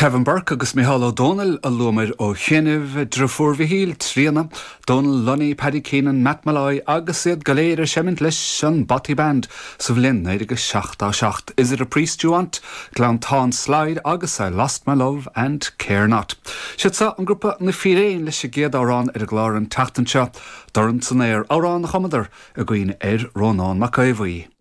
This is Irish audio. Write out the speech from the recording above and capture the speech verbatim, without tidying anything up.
Kevin Burke agus Micheál Ó Domhnaill a luamar ó chianaibh, deirfiúr Mhichíl, Tríona, Donal Lunny, Paddy Keenan, Matt Molloy agus iad go léir ag seimint leis an Bothy Band sa bhliain naoi déag seachtó seacht. Is it a priest you want? Gleanntáin Slide agus I lost my love and care not. Siad seo an grúpa na Fíréin leis an gcéad amhrán ar an gclár an tseachtain seo, Dorn san Aer amhrán a chumadar i gcuimhne ar Rónán Mac Aodha Bhuí.